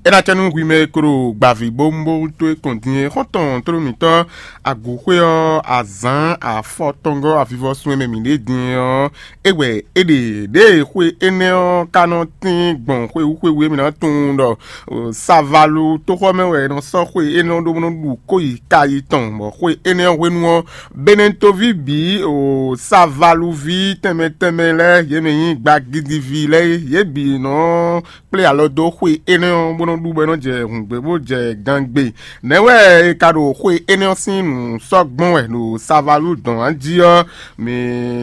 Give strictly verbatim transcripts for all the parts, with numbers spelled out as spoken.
É ná cɛ nú hwi mɛ e ko ɖo gbavǐ bó ń bó wútu é kɔn din é xɔ́ntɔn tlóló mǐtɔn agǔxwé ɔ́, azǎn afɔtɔngɔ́ avivɔsun e mɛ mǐ ɖe din é ɔ́, é wɛ é ɖe. Ɖěe xwe énɛ́ ɔ́ ka nɔ tín gbɔn xwewú xwewú e mǐ ná tunwun ɖɔ Savalu tóxɔ mɛ wɛ è nɔ sɔ́ xwe énɛ́ ɔ́ ɖó bó nɔ́ ɖu kó yi ka yi tɔn, bɔ xwe énɛ́ ɔ́ hwenu ɔ́, Benɛtoví bǐ o Savaluví tɛnmɛ tɛnmɛ lɛ́ɛ, yě mɛ nyí gbagidiví lɛ́ɛ, yě bǐ nɔ kplé alɔ dó xwe énɛ́ ɔ́, bó nɔ́ ɖu bɔ é nɔ́ jɛ hǔngbé bó jɛ gangbe. Nɛ̌ wɛ è ka ɖo xwe énɛ́ ɔ́ sín nǔ sɔ́ gbɔn wɛ ɖo Savalu dɔn ǎ jí ɔ́? Mǐ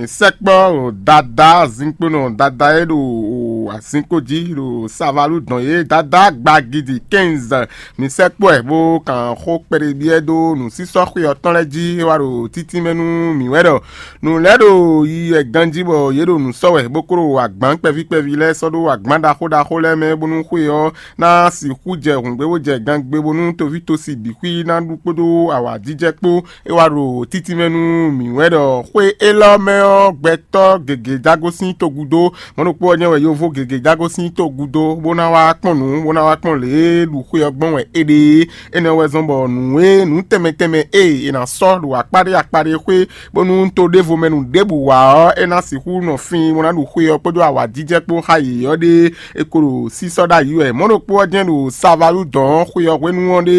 sɛkpɔ́ ɖo Dadá azinkponɔ Dadá e ɖo azinkpo jí ɖo Savalu dɔn é, Dadá gbagidi quinze. Mǐ sɛkpɔ́ ɛ bó kan xó kpɛɖebyɛ́ dó nǔsísɔ́ xwe ɔ́ tɔn lɛ́ɛ jí, é wá ɖo títínmɛ nú mǐ wɛ ɖɔ nǔ lɛ́ɛ ɖo yiyi wɛ ganjí bɔ yě ɖo nǔ sɔ́ wɛ, bó kó ɖo agbǎn kpɛví kpɛví lɛ́ɛ sɔ́ ɖó agbǎn ɖaxó ɖaxó lɛ́ɛ mɛ, bónú xwe ɔ́ ná sixú jɛ hǔngbé bó jɛ gangbe, bónú toví tosi bǐ xwí ná ɖu kpódó awǎjijɛ kpó. É wá ɖo títínmɛ nú mǐ wɛ ɖɔ xwe élɔ́ mɛ ɔ́, gbɛtɔ́ gěgé jágó sín togúdó. Mɔ̌ ɖokpó ɔ́ jɛ́n wɛ yovó gěgé jágó sín togúdó, bó ná wá kpɔ́n nǔ, bó ná wá kpɔ́n lě e ɖu xwe ɔ́ gbɔn wɛ é ɖe é. Énɛ́ wɛ zɔ́n bɔ nǔ e nǔ tɛnmɛ tɛnmɛ e è nǎ sɔ́ ɖo akpáɖé akpáɖé xwé, bónú to ɖěvo mɛ nǔ ɖěbǔ wa ɔ́, é ná sixú nɔ fin, bó ná ɖu xwe ɔ́ kpódó awǎjijɛ kpó xá yě ɔ́ ɖe, é ko ɖo sísɔ́ ɖ'ayǐ wɛ. Mɔ̌ ɖokpó ɔ́ jɛ́n ɖo Savalu dɔn ɔ́ xwe ɔ́ hwenu ɔ́ ɖe,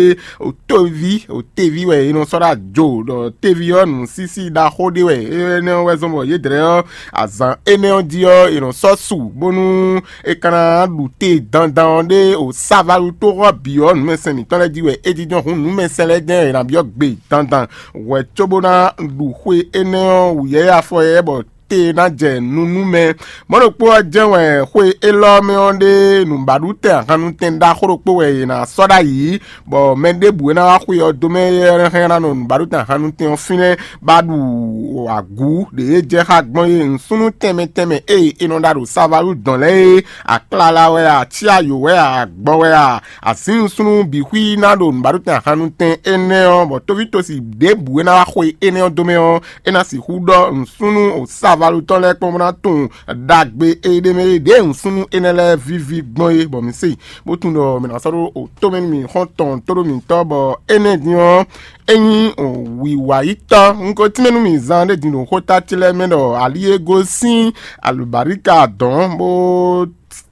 tóví, teví wɛ è nɔ sɔ́ ɖó ajo, ɖɔ teví ɔ́ nǔsísí ɖaxó ɖé wɛ. Énɛ́ ɔ́ wɛ zɔ́n bɔ yědɛɛ ɔ́, azǎn énɛ́ ɔ́ jí ɔ́, è nɔ sɔ́ su, bónú é ka ná ɖu te dandan ɔ́ ɖé o Savalu tó ɔ́ bǐ ɔ́, nǔmɛsɛn mǐtɔn lɛ́ɛ jí wɛ é jínjɔ́n hǔn nǔmɛsɛn lɛ́ɛ jɛ́n è nǎ byɔ́ gbe dandan. Hwɛ cóbó ná ɖu xwe énɛ́ ɔ́ wǔyɛ́yɛ́ afɔ yɛ́ bɔ te ná jɛ nu nú mɛ. Mɔ̌ ɖokpó ɔ́ jɛ́n wɛ xwe élɔ́ mɛ ɔ́ ɖe nǔbaɖutɛn ahannutɛn ɖaxó ɖokpó wɛ è nǎ sɔ́ ɖ'ayǐ, bɔ mɛ ɖěbǔ e ná wá xwe ɔ́ dó mɛ é hɛn ná nɔ nǔbaɖutɛn ahannutɛn ɔ́ fínɛ́, bá ɖu agǔ ɖě e jɛ xá gbɔn é. Nǔsúnnú tɛnmɛ tɛnmɛ e è nɔ ɖa ɖo Savalu dɔn lɛ́ɛ é, aklala wɛ a, acíayǒ wɛ a, agbɔ wɛ a, azǐn nǔsúnnú bǐ xwí ná ɖo nǔbaɖutɛn ahannutɛn énɛ́ ɔ́, bɔ tóvítosi ɖěbǔ e ná wá xwe énɛ́ ɔ́ dó mɛ ɔ́, é ná sixú ɖɔ nǔsúnnú o Savalu tɔn lɛ́ɛ kpɔ́n bó ná tunwun ɖagbe e ɖ'é mɛ é ɖě nǔsúnnú énɛ́ lɛ́ɛ víví gbɔn é, bɔ mǐ se, bó tunwun ɖɔ mǐ ná sɔ́ ɖó o tó mɛ nú mì xɔ́ntɔn tóɖó mǐtɔn, bɔ énɛ́ din ɔ́, é nyí wǐwayítɔ́. Un ko tínmɛ nú mì zan ɖé din ɖo xóta ce lɛ́ɛ mɛ ɖɔ ali e gosín alǔbaríka dɔ̌n bó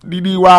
ɖiɖi wá